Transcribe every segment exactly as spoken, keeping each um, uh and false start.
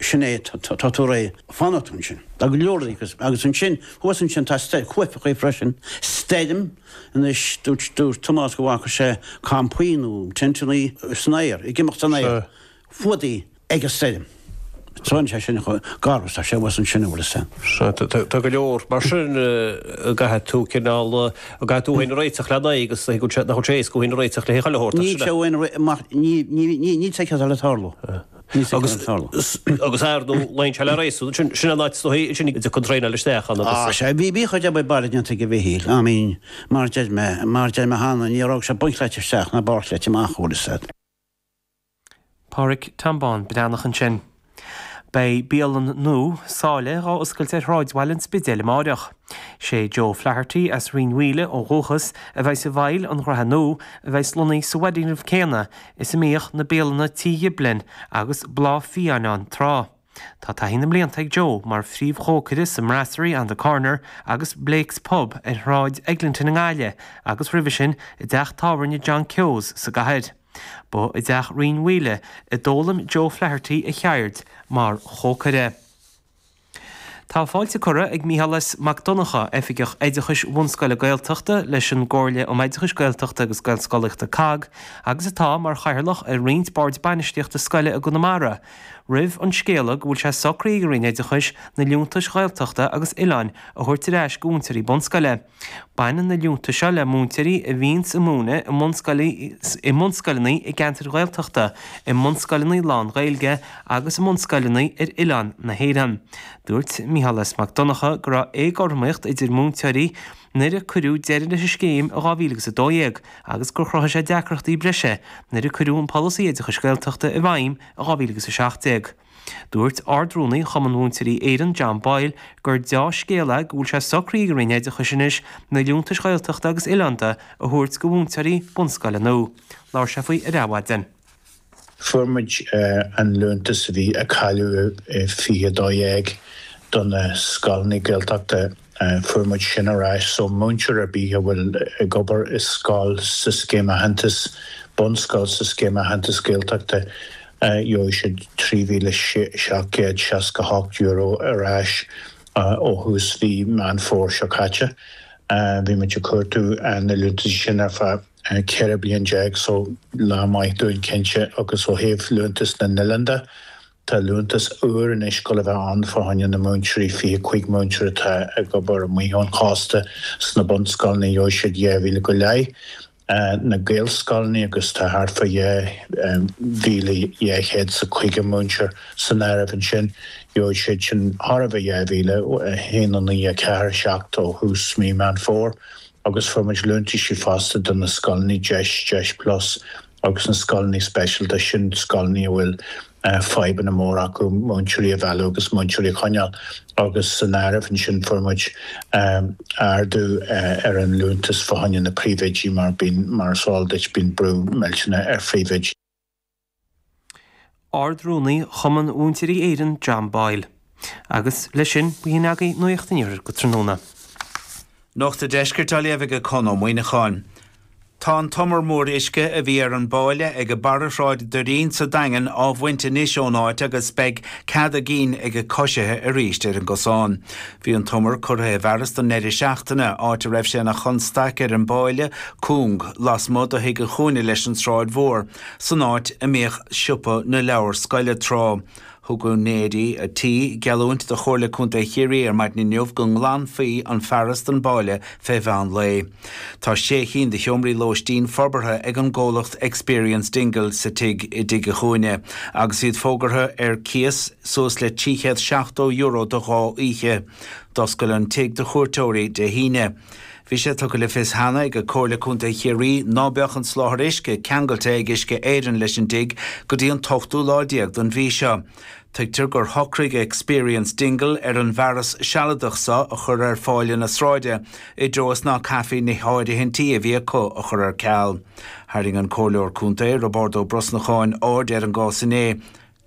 Sin é, tá tú réidh, fanfaidh tú ansin. Tá go leor agus agus ansin, thuas ansin tá cuaifeachaí freisin, stoirm, anois dúirt dúirt Tomás go bhfaca sé campaí nó tenteannaí san aer, ag imeacht san aer, fuadaí ag an stoirm. Tá sé sin chomh garbh is tá sé thuas ansin an bhfuil fhios a'd. Tá go leor mar sin a gcaithfidh tú cineál, a gcaithfidh tú féin a réiteach lena aghaidh agus nach bhfuil sé éasca thú féin a réiteach le haghaidh chuile shórt. Níl sé uainn mar ní níl sé cead le tarlú. Agus agus ar ndóigh luíonn sé le réasún, sin sin an áit is dóichí sin a dtiocfaidh an traenáil isteach ann agus. Á sea, bhí bhí chuid obair baile déanta ag Mhichíl, I mean mar deir mé, mar deir mé cheana, ní raibh sé bunchleite isteach ná barrchleite amach, bhfuil fhios a'd. Pádraic Tom Bán Breathnach ansin. Beidh bialann nua, Sáile, dhá oscailt ar shráidbhaile an Spidéil amáireach. Sé Joe Flaherty as Rinn Mhaoile ó dhúchas a bheidh i bhfeighil an ghraithe nua a bheidh lonnaithe sa bhfoirgneamh céanna is a mbíodh na bialanna Tí Ghiblin agus Bláth Fiáin ann tráth. Tá taithí na mblianta ag Joe mar phríomhchócaire sa mBrasserie on the Corner agus Blake's Pub ar Shráid Eglinton i nGaillimh agus roimhe sin i dteach tábhairne John Keogh's sa gcathair. Ba i dteach Rinn Mhaoile a d'fhoghlaim Joe Flaherty a cheird mar chócaire. Tá fáilte curtha ag Micheál S. Mac Donncha, Oifigeach Oideachais Bhunscoile Gaeltachta leis an gComhairle um Oideachais Gaeltachta agus Gaelscolaíochta, COGG, agus atá mar chathaoirleach ar roinnt boird bainistíochta scoile i gConamara, roimh an scéala go bhfuil sé socraithe ag an Roinn Oideachais na liúntais Ghaeltachta agus Oileáin a thabhairt ar ais go mhúinteoirí bunscoile. Baineann na liúntais seo le múinteoirí a bhíonns ag múineadh i mbunscoileanna i gceantair Ghaeltachta, i mbunscoileanna lán-Ghaeilge agus i mbunscoileanna ar oileáin na hÉireann. Dúirt Micheál S. Mac Donncha go raibh éagothromaíocht idir múinteoirí nuair a cuireadh deireadh leis an scéim i dhá mhíle agus a dó dhéag agus gur chruthaigh sé deacrachtaí breise nuair a cuireadh an polasaí oideachais Gaeltachta i bhfeidhm i dhá mhíle agus a seacht déag. Dúirt Ard-Rúnaí Chumann Mhúinteoirí Éireann, John Boyle, gur deá-scéal é go bhfuil sé socraithe ag an Roinn Oideachais anois na liúntais Ghaeltachta agus Oileánda a thabhairt go mhúinteoirí bunscoile nua. Labhair sé faoi ar Adhmhaidin. Fuair muid an liúntas a bhí a cailleadh i fiche a dó dhéag do na scoileanna Gaeltachta, fuair muid sin ar ais. So múinteoir ar bith a bhfuil ag obair i scoil sa Scéim Aitheantais, bunscoil sa Scéim Aitheantais Gaeltachta, Gheobhaidh siad trí mhíle seacht gcéad seasca hocht euro ar ais ó thús mhí Meán Fómhair seo caite. Bhí muid ag cuartú na liúntaisí sin ar feadh ceithre bliain déag so lá maith dúinn cinnte agus ó thaobh liúntas na n-oileán de, tá liúntas úr anois ag dul a bheith ann fá choinne na múinteoirí, fiche cúig múinteoir atá ag obair amuigh ón chósta sna bunscoileanna, gheobhaidh siad dhá mhíle go leith. na Gaelscoileanna agus tá thart fá dhá mhíle dhá chéad 's a caoga múinteoir san áireamh ansin. Gheobhaidh siad sin thar a bheith dhá mhíle, a haon a naoi a ceathair seacht ó thús mí Meán Fómhair agus fuair muid liúntaisí fosta do na scoileanna Deis, Deis Plus agus na scoileanna speisialta, sin scoileanna a bhfuil fadhbanna móra acu múinteoirí a mhealladh agus múinteoirí a choinneáil agus san áireamh ansin fuair muid ardú ar an liúntas fá choinne na príomhoidí mar bíonn, mar is eol duit, bíonn brú millteanach ar phríomhoidí. Ard-Rúnaí Chumann Mhúinteoirí Éireann John Boyle. Agus leis sin, b'shin agaibh Nuacht an Iarthair go tráthnóna. Nuacht an Deiscirt á léamh ag Conn Ó Muíneacháin. Tá an t-umar mór uisce a bhí ar an bpáile ag barra Shráid Doirín sa Daingean á bhaint anois ón áit agus beidh cead a gcinn ag coisithe arís ar an gcosán. Bhí an t-umar curtha i bhfearas don ndeireadh seachtaine, áit a raibh sé ina chonstaic ar an bpáile cúng lasmuigh de Thigh an Chúinne leis an tSráid Mhór, san áit a mbíodh siopa na leabhar scoile tráth. Thug úinéirí a' tí geallúint do Chomhairle Contae Chiarraí ar maidin inniu go nglanfaí an fearas den bpáile fé mheán lae. Tá sé chinn de sheomraí lóistín forbartha ag an gcomhlacht Experience Dingle sa tigh i dTigh a' Chúinne agus iad fógartha ar cíos suas le trí chéad seachtó euro do dhá oíche. D'oscail an tigh do chuairteoirí Dé hAoine. Bhí sé tugtha le fios cheana ag Comhairle Contae Chiarraí ná beadh an soláthar uisce ceangailte ag Uisce Éireann leis an dtigh go dtí an t-ochtú lá déag den mhí seo. Tuigtear gur shocraigh Experience Dingle ar an bhfearas sealadach seo a chur ar pháile na sráide i dtreo is ná caithfí na háirithintí a bhí acu a chur ar ceal. Tharraing an Comhairleoir Contae, Roibeárd Ó Brosnacháin, aird ar an gcás inné.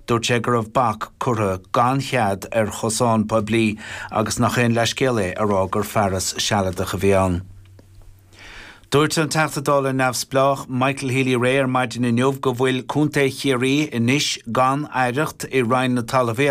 Dúirt sé go raibh bac curtha gan chead ar chosán poiblí agus nach aon leithscéal é a rá gur fearas sealadach a bhí ann. Dúirt an Teachta Dála neamhspleách Michael Healy-Rae ar maidin inniu go bhfuil Contae Chiarraí anois gan aireacht i Roinn na Talmhaíochta.